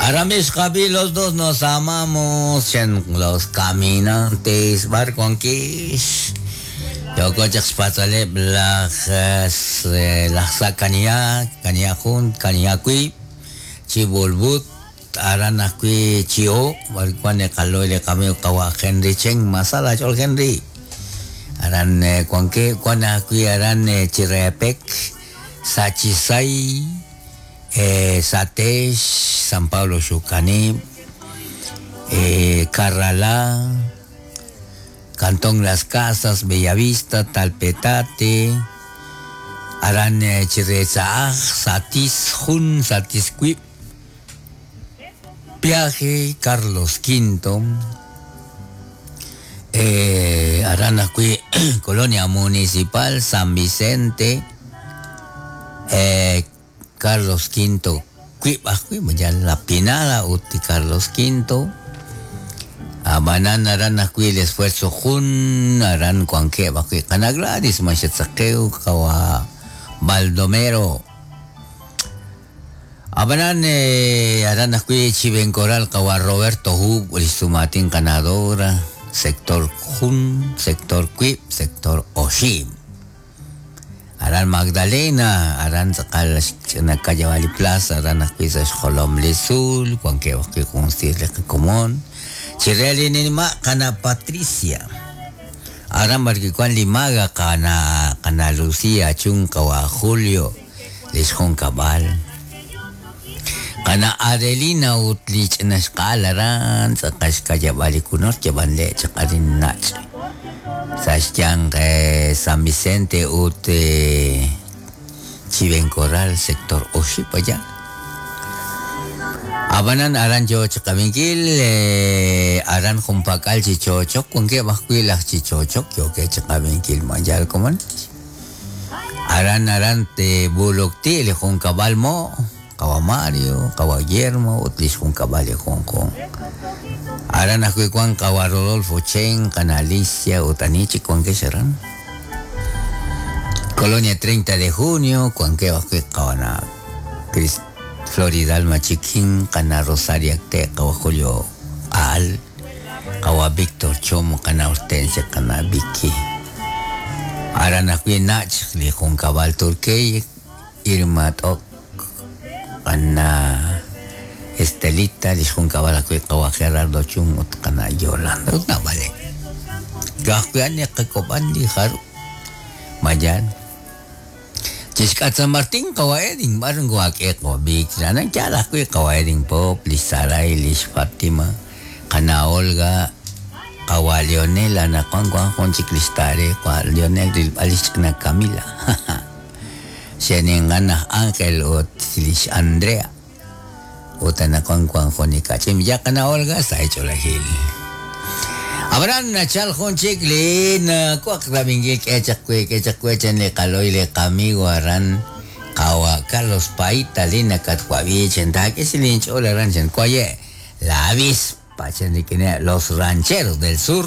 Aramis Javi, los dos nos amamos, chen los caminantes, bar wankex. Yooko chaq xpatz'aleb' laj laj sa' Kaniha, Kaniha jun, Kaniha wiib', chi Bulbut, aran ajwi' Chi'o, b'ar wan li qalo'y li qamiiw qawa' Henry Chen, Masala ch'ol Henry. Aran wankeb', wan ajwi' aran Chirepek, Sachisay, Satex, San Pablo Xukanib', Carralá, Cantón Las Casas, Bellavista, Talpetate, aran Chiretza'aj, Satis jun, Satis wiib', Piaje, Carlos V, aran ajwi' Colonia Municipal, San Vicente, Carlos V wiib' ajwi' yal La Pinada ut Carlos V. Ab'anan aran ajwi' el esfuerzo jun aran wankeb' ajwi' qana' Gladys Maxatzaqew qawa' Baldomero. Ab'anan aran ajwi' Chivencoral qawa' Roberto Hub li xsumaatin qana' Dora, sector jun, sector wiib', sector oxib'. Aran Magdalena, aran tz'aqal xch'ina Kayabali Plaza, aran ajwi' sa' xjolom li tzuul, wankeb' ajwi' jun siir li qakomon. Chire li nima' qana' Patricia. Aran b'ar wi' wan li maga qana' qana' Lucia Chun qawa' Julio li xjunkab'al. Qana' Adelina ut li ch'ina xq'aal aran tz'aqal xkayab'al li kunor yab'an le' chaq arin nach'. Sa' xyanq San Vicente ut Chivencoral, sector oxib' allá. Ab'anan aran yo chiqab'inkil aran junpak'al chi chochok wankeb' ajwi' laj chi chochok yookeb' chiqab'inkil ma yal komon. Aran aran te Bulukti li junkab'al mo' qawa' Mario, qawa' Guillermo ut li xjunkab'al li junjunq. Aran ajwi' wan qawa' Rodolfo Chen, qana' Alicia ut ani chik wankex aran. Colonia 30 de Junio wankeb' ajwi' qawa' Cris Floridalma Chiquín, qana' Rosario Acte, qawa' Julio Al, qawa' Víctor Chomo, qana' Hortensia, qana' Vicky. Aran ajwi' nach' li junkab'al Turkey, Irma T'ok, qana' Estelita, li xjunkab'al ajwi' qawa' Gerardo Chun ut qana' Yolanda ut naab'aleb'. Ka'ajwi' ani qak'ob'an li jarub' mayan. Chixk'at San Martín qawa' Edin b'ar nkohak'e qawa' Vic, aran yaal ajwi' qawa' Edin Pop, lix Saray, lix Fatima, qana' Olga, qawa' Leonel anaqwan wan jun chik lix Tare, qawa' Leonel rilb'al lix ch'ina Camila. Xe'ninqan aj Ángel ut lix Andrea ut anaqwan wan jun li kach'in ya qana' Olga sa' ch'oolejil. Ab'anan nachal jun chik li nakwaq rab'inkil k'e chaq we k'e chaq we chan li qalo'y li qamigo aran qawa' Carlos Paita li nakatwab'i chan taak'e chi linch'ool aran chan waye' la avispa chan rik'ineb' los rancheros del sur.